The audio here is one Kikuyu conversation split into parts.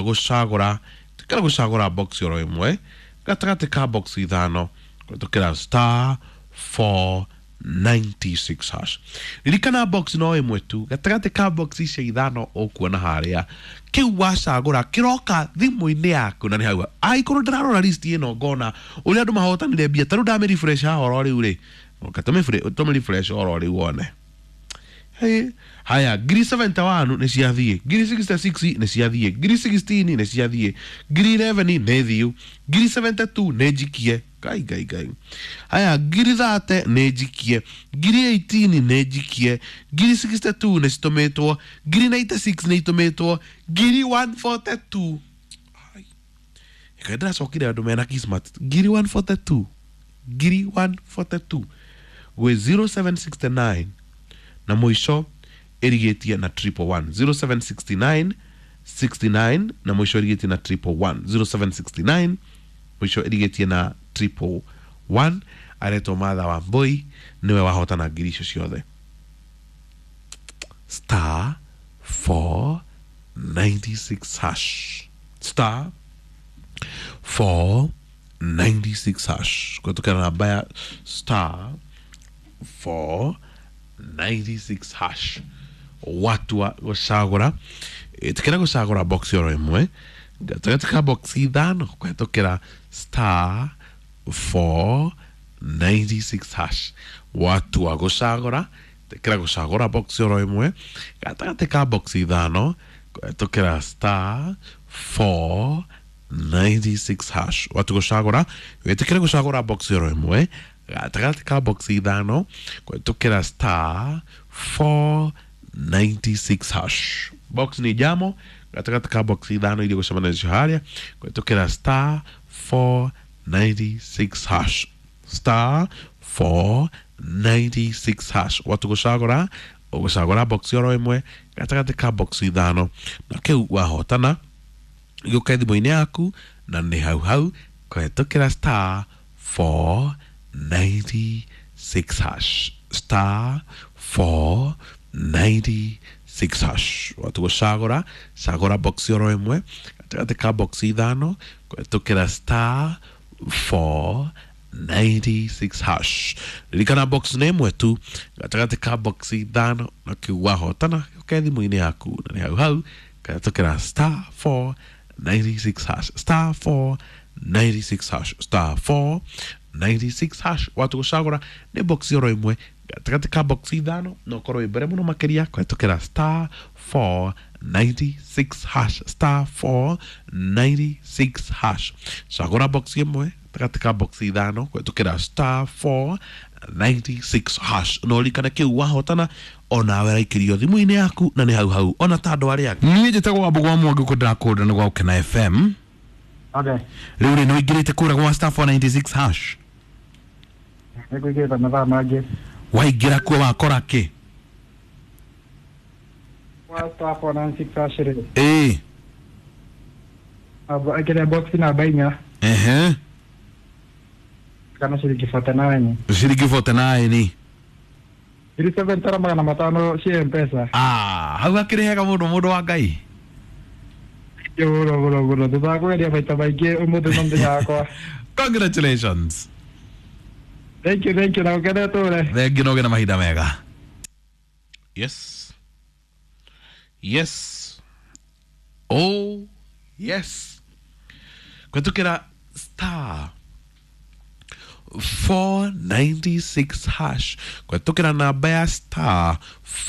Gũcagũra, tikĩra gũcagũra box oro ĩmwe gatagatĩ ka box ithano kũhetũkĩra star 496 hash. Ririkana, box no ĩmwe tu gatagatĩ ka box icio ithano ũkuona harĩa. Kĩu wacagũra kĩroka thimũ-inĩ yaku na nĩ hau. Angĩkorwo ndĩrarora list ĩno ngona ũrĩa andũ mahotanire mbia, ta rĩu ndamĩ refresh haha oro rĩu rĩ, oka tũmĩ refresh oro rĩu wone. Hey, haya, ngiri 71 nĩ ciathiĩ, ngiri 66 nĩ ciathiĩ, ngiri 16 nĩ ciathiĩ, ngiri 11 nĩ thiu, ngiri 72 nĩ njikie. Ngai, ngai, ngai! Haya, ngiri 30 nĩ njikie, ngiri 18 nĩ njikie, ngiri 62 nĩ citũmĩtwo, ngiri 96 nĩ itũmĩtwo, ngiri 142. Ai. Ĩka ndĩracokire andũ mena kismat. Ngiri 142, ngiri 142 gwĩ 0769 na mũico ĩrigĩtie na 111. 0769, 69 na mũico ĩrigĩtie na 111. 0769, mũico ĩrigĩtie na 111. Aretwo Martha wa Mbui, nĩwe wahotana ngiri icio ciothe. Star 496 hash, star 496 hash, kũhetũkĩra namba ya star 496 hash. Watua gũcagũra, ĩtĩkĩra gũcagũra box oro ĩmwe gatagatĩ ka box ithano kũhetũkĩra star 496 hash. Watua gũcagũra, ĩtĩkĩra gũcagũra box oro ĩmwe gatagatĩ ka box ithano kũhetũkĩra star 496 hash. Watu gũcagũra, wĩtĩkĩre gũcagũra box oro ĩmwe gatagatĩ ka box ithano kũhetũkĩra star 496 hash. Box nĩ jamo gatagatĩ ka box ithano iria gũcemania nacio harĩa kũhetũkĩra star 496 hash, star 496 hash. Watu gũcagũra, ũgũcagũra box oro ĩmwe gatagatĩ ka box ithano na kĩu wahotana gĩũke thimũ-inĩ yaku na nĩ hau hau kũhetũkĩra star 496 hash, star 496 hash. Watu gũcagũra, cagũra box oro ĩmwe gatagatĩ ka box ithano kũhetũkĩra star 496 hash. Ririkana, box nĩ ĩmwe tu gatagatĩ ka box ithano na kĩu wahotana gĩũke thimũ-inĩ yaku na nĩ hau hau kũhetũkĩra star 496 hash, star 496 hash, star 496 hash. Watu gũcagũra nĩ box oro ĩmwe gatagatĩ ka box ithano na ũkorwo wĩ mbere mũno makĩria kũhetũkĩra star 496 hash, star 496 hash. Cagũra box ĩmwe gatagatĩ ka box ithano kũhetũkĩra star 496 hash na ũririkane kĩu wahotana onawe raikĩrio thimũ-inĩ yaku na nĩ hau hau ona ta andũ arĩa angĩ. Niĩ njĩtagwo Wambũgũ wa Mwangi, kũ ndĩrakũrĩra nĩ gwa Gũkena FM. Okay. Rĩu rĩ, nĩ ũingĩrĩte kũrĩa gwa star 496 hash? Nĩngũingĩrĩte mathaa mangĩ. Waingĩra kuo wakora kĩ? Kwa star 496 hash rĩ. Ĩĩ. Ĩkĩrĩa box namba inya. Kana ciringi 49. Ciringi 49. Ngiri 7 magana matano cia M-Pesa. Ah, hau hakĩrĩ hega mũno, mũndũ wa Ngai. Mũno mũno mũno. Thutha wa kũgeria maita maingĩ, ũmũthĩ no mũthenya wakwa. Congratulations. Thank you, thank you, na ũkene tũre. Thengi na ũgĩe na mahinda mega. Yes, oh yes. Kũhetũkĩra star 496 hash, kũhetũkĩra namba ya star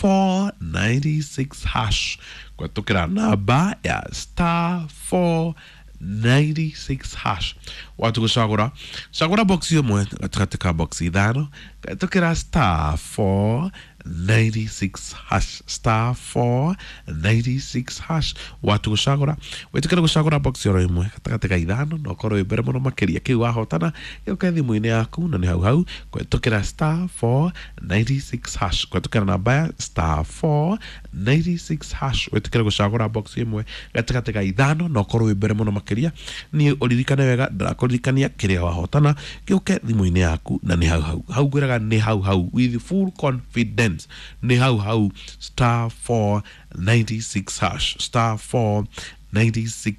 496 hash, kũhetũkĩra namba ya star 496 hash. Watu gũcagũra, cagũra box ĩmwe gatagatĩ ka box ithano kũhetũkĩra star 496 hash, star 496 hash. Watu gũcagũra, wĩtĩkĩre gũcagũra box oro ĩmwe gatagatĩ ka ithano na ũkorwo wĩ mbere mũno makĩria. Kĩu wahotana gĩũke thimũ-inĩ yaku na nĩ hau hau kũhetũkĩra star 496 hash, kũhetũkĩra namba ya star 496 hash. Wĩtĩkĩre gũcagũra box ĩmwe gatagatĩ ka ithano na ũkorwo wĩ mbere mũno makĩria. Niĩ ũririkane wega, ndĩrakũririkania, kĩrĩa wahotana gĩũke thimũ-inĩ yaku na nĩ hau hau. Hau ngwĩraga nĩ hau hau, with full confidence, nĩ hau hau. Star 496 hash, star 496.